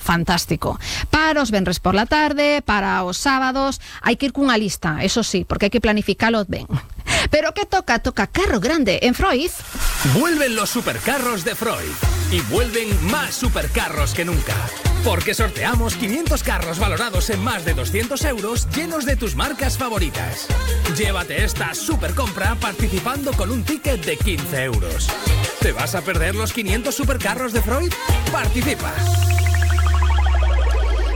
fantástico. Para os venres por la tarde, para os sábados, hai que ir cunha lista, eso sí, porque hai que planificalo ben. Pero que toca carro grande en Freud. Vuelven los supercarros de Freud y vuelven más supercarros que nunca. Porque sorteamos 500 carros valorados en más de 200 euros llenos de tus marcas favoritas. Llévate esta supercompra participando con un ticket de 15 euros. ¿Te vas a perder los 500 supercarros de Freud? ¡Participa!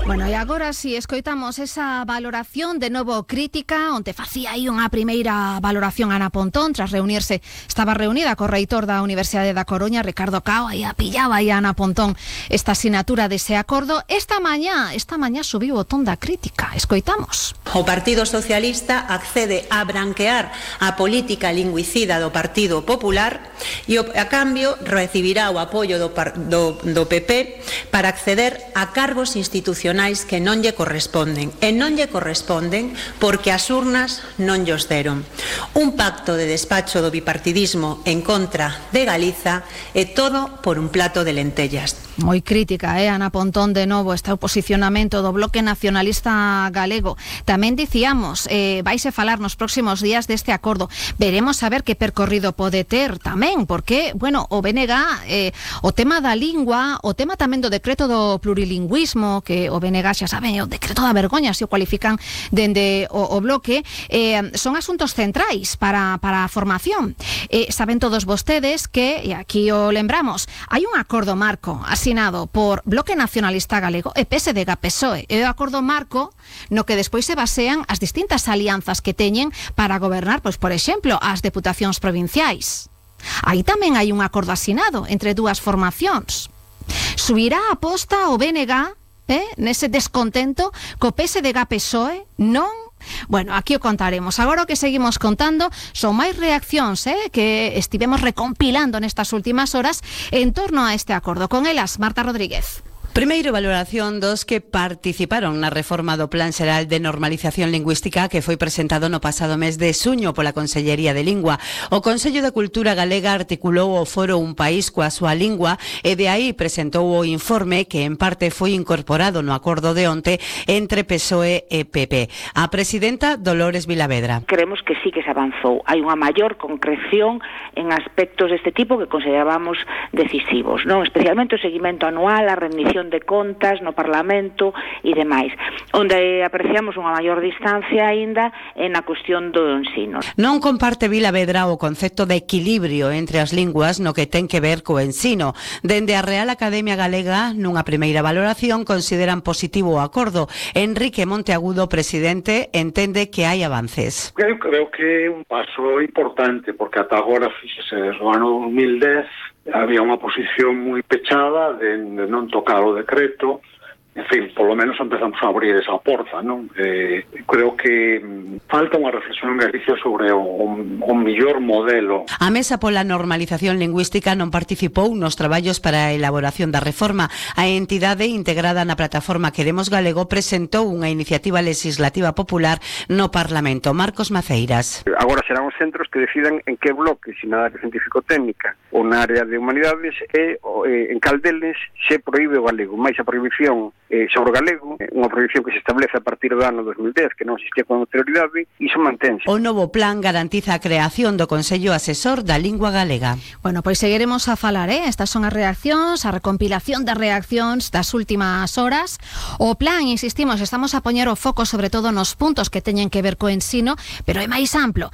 Bueno, e agora si escoitamos esa valoración de novo crítica, onde facía aí unha primeira valoración Ana Pontón tras reunirse, estaba reunida co reitor da Universidade da Coruña, Ricardo Cao, aí pillaba aí a Ana Pontón esta asignatura dese acordo. Esta mañá subiu o ton da crítica. Escoitamos. O Partido Socialista accede a branquear a política lingüicida do Partido Popular e a cambio recibirá o apoio do PP para acceder a cargos institucionais que non lle corresponden, e non lle corresponden porque as urnas non llos deron. Un pacto de despacho do bipartidismo en contra de Galiza e todo por un plato de lentellas. Moi crítica, Ana Pontón, de novo, está o posicionamento do Bloque Nacionalista Galego. Tamén dicíamos, vaise falar nos próximos días deste acordo. Veremos a ver que percorrido pode ter tamén, porque, bueno, o BNG, o tema da lingua, o tema tamén do decreto do plurilingüismo, que o BNG xa saben, o decreto da vergoña, se o cualifican dende o bloque, son asuntos centrais para a formación. Saben todos vostedes que, e aquí o lembramos, hai un acordo marco asinado por Bloque Nacionalista Galego e PSDG-PSOE, e o acordo marco no que despois se basean as distintas alianzas que teñen para gobernar, pois, por exemplo, as deputacións provinciais. Aí tamén hai un acordo asinado entre dúas formacións. Subirá a aposta o BNG nese descontento co PSDG-PSOE? Non? Bueno, aquí o contaremos. Agora o que seguimos contando son máis reaccións que estivemos recompilando nestas últimas horas en torno a este acordo. Con elas, Marta Rodríguez. Primeiro, valoración dos que participaron na reforma do Plan Xeral de Normalización Lingüística que foi presentado no pasado mes de xuño pola Consellería de Lingua. O Consello de Cultura Galega articulou o foro Un País coa súa lingua e de aí presentou o informe que en parte foi incorporado no acordo de onte entre PSOE e PP. A presidenta Dolores Vilavedra. Creemos que sí que se avanzou. Hai unha maior concreción en aspectos deste tipo que considerábamos decisivos, non? Especialmente o seguimento anual, a rendición de contas no Parlamento e demais, onde apreciamos unha maior distancia aínda na cuestión do ensino. Non comparte Vilavedra o concepto de equilibrio entre as linguas no que ten que ver co ensino. Dende a Real Academia Galega, nunha primeira valoración, consideran positivo o acordo. Enrique Monteagudo, presidente, entende que hai avances. Eu creo que é un paso importante, porque ata agora, fíxese, desde o ano 2010, había unha posición moi pechada de non tocar o decreto. En fin, polo menos empezamos a abrir esa porta, non? Creo que falta unha reflexión en Galicia sobre o mellor modelo. A Mesa pola Normalización Lingüística non participou nos traballos para a elaboración da reforma. A entidade integrada na plataforma Queremos Galego presentou unha iniciativa legislativa popular no Parlamento. Marcos Maceiras. Agora serán os centros que decidan en que bloque, se na área científico-técnica ou na área de humanidades, e en cal deles se proíbe o galego, máis a prohibición sobre o galego, unha prohibición que se establece a partir do ano 2010, que non existía con anterioridade, e iso mantense. O novo plan garantiza a creación do Consello Asesor da Lingua Galega. Bueno, pois seguiremos a falar, estas son as reaccións, a recompilación das reaccións das últimas horas. O plan, insistimos, estamos a poñer o foco sobre todo nos puntos que teñen que ver co ensino, pero é máis amplo.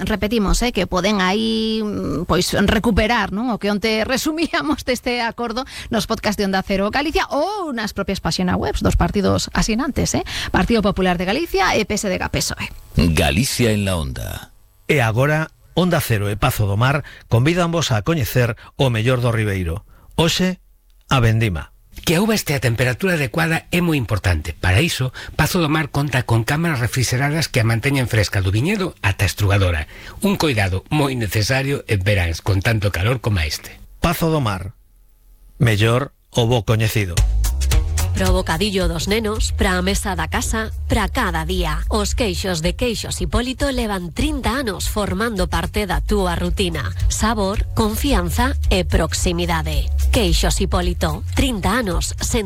Repetimos, que poden aí pois recuperar, non, o que onte resumíamos deste acordo nos podcast de Onda Cero Galicia ou nas propias páxinas web dos partidos asinantes, Partido Popular de Galicia e PSDG-PSOE. Galicia en la Onda. E agora, Onda Cero e Pazo do Mar convídanvos a coñecer o mellor do Ribeiro. Hoxe, a vendima. Que a uva este a temperatura adecuada é moi importante. Para iso, Pazo do Mar conta con cámaras refrigeradas que a manteñen fresca do viñedo ata a estrugadora. Un coidado moi necesario en veráns con tanto calor como este. Pazo do Mar. Mellor o bo coñecido. Pro bocadillo dos nenos, pra a mesa da casa, pra cada día. Os queixos de Queixos Hipólito levan 30 anos formando parte da túa rutina. Sabor, confianza e proximidade. Queixos Hipólito, 30 anos sen